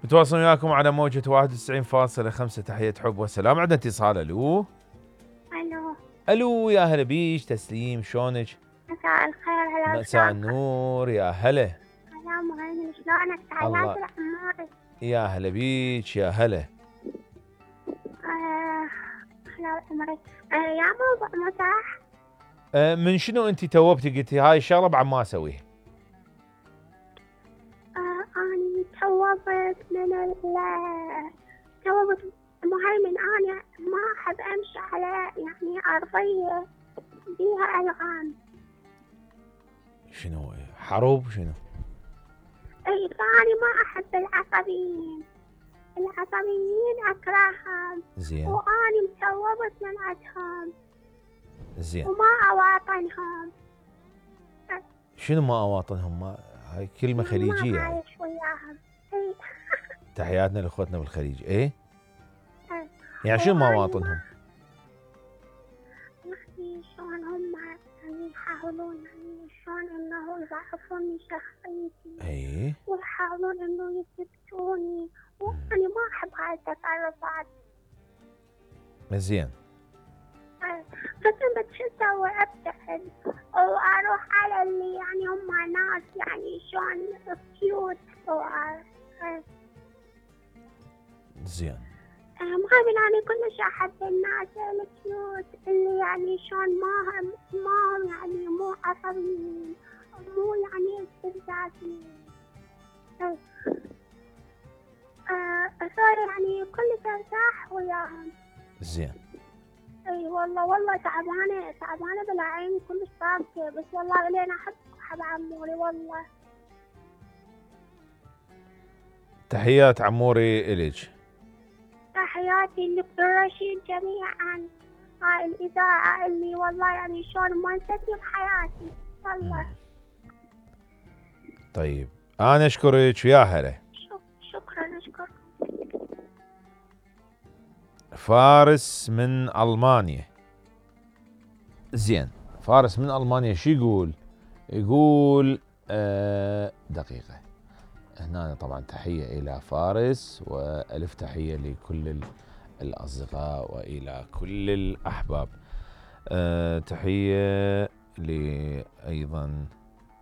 متواصل وياكم على موجة 91.5. تحية حب والسلام. عندنا اتصال. الو الو، يا هلا بيش. تسليم، شلونك؟ مساء الخير. هلا مساء النور، يا هلا. هلا مهيمن، شلونك؟ تحياتي لعموري. يا هلا بيش، يا هلا. هلا عمري. يا موضوع مزاح. من شنو انت توبتي قلتي هاي الشغله بعد ما اسويها؟ اني توبت من توبت مهيمن. انا ما احب امشي على يعني ارضيه بيها الغام. شنو حروب شنو؟ اي، فاني ما احب العصبيين اكرههم. زين. واني متوبت من عندهم. زين. وما اواطنهم. شنو ما اواطنهم؟ ما هاي كلمه خليجيه. ما عايش وياهم. اي. تحياتنا لاخوتنا بالخليج. ايه يعني شنو ما اواطنهم؟ يعني شلون هم يعني يحاولون يعني شلون انه يضعفون من شخصيتي. ايه. ويحاولون انه يثبتوني، وانا ما احب هاي التصرفات. زين. بس انت شو اسوي؟ ابتعد واروح على اللي يعني هم ناس يعني شلون كيوت. زين. مهيمن، أنا كلش أحب الناس الكيوت اللي يعني شلون ما هم يعني مو عصبيين، مو يعني استفزازيين. صار يعني كلش ارتاح وياهم. زين. اي والله تعبانه بلا عين، كلش طاقة. بس والله لين احب عموري والله. تحيات عموري إليك. تحياتي لكل رشيد جميعا. هاي الإذاعة اللي والله يعني شلون ما نسيتني بحياتي والله. طيب أنا أشكرك ويا هلا. شكرا. فارس من ألمانيا. زين، فارس من ألمانيا شو يقول؟ يقول دقيقة. هنا طبعا تحية إلى فارس، وألف تحية لكل الأصدقاء وإلى كل الأحباب. تحية أيضا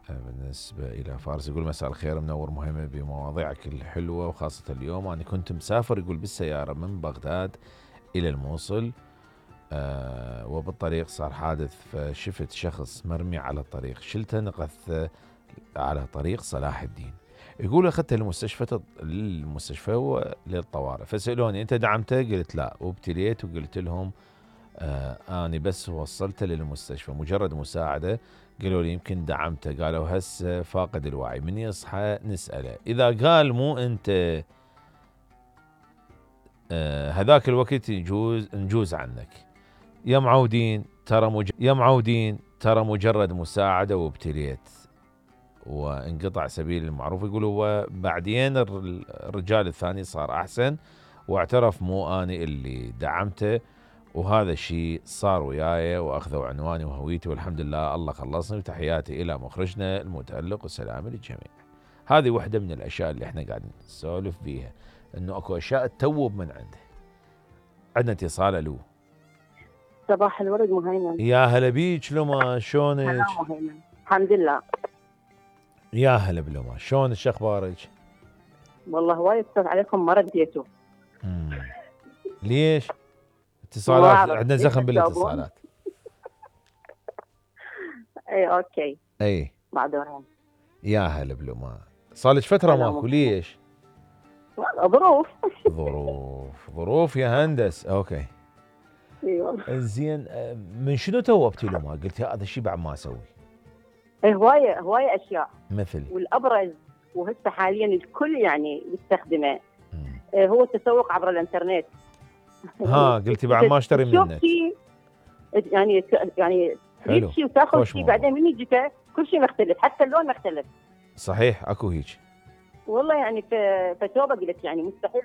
بالنسبة إلى فارس. يقول مساء الخير، منور مهمة بمواضيعك الحلوة، وخاصة اليوم أنا كنت مسافر يقول بالسيارة من بغداد إلى الموصل، وبالطريق صار حادث، فشفت شخص مرمي على الطريق، شلته نقذته على طريق صلاح الدين. يقول أخذته للمستشفى وللطوارئ، فسألوني أنت دعمته؟ قلت لا، وابتليت وقلت لهم أنا بس وصلته للمستشفى مجرد مساعدة. قالوا لي يمكن دعمته، قالوا هسه فاقد الوعي، من يصحى نسأله. إذا قال مو أنت هذاك الوقت نجوز عنك. يا معودين ترى مجرد مساعدة وابتليت وانقطع سبيل المعروف. يقولوا وبعدين الرجال الثاني صار أحسن واعترف مو أنا اللي دعمته، وهذا الشيء صار وياي، وأخذوا عنواني وهويتي والحمد لله الله خلصني. وتحياتي إلى مخرجنا المتألق والسلام للجميع. هذه واحدة من الأشياء اللي احنا قاعدين نسولف بيها، انه اكو اشياء تتوب من عنده. عندنا اتصال. الو. صباح الورد مهيمن. يا هلا بيك لما، شلونك؟ هلا مهيمن، الحمد لله. يا هلا بلما، شلونك؟ شو اخبارك؟ والله وايد اتصل عليكم ما رديتوا. ليش؟ اتصالات عندنا زخم بالاتصالات. اي اوكي. اي معذورين. يا هلا بلما، صار لك فترة ماكو، ليش؟ ظروف يا هندس. اوكي. اي والله. زين، من شنو توبتي لما قلتي هذا الشيء بعد ما اسوي؟ اي هواية اشياء مثل، والابرز وهسه حاليا الكل يعني يستخدمه هو التسوق عبر الانترنت. قلتي بعد ما اشتري من النت. يعني تريد شيء وتاخذ شيء بعدين من يجيك كل شيء مختلف، حتى اللون مختلف. صحيح، اكو هيك والله. يعني فتوبه قلت يعني مستحيل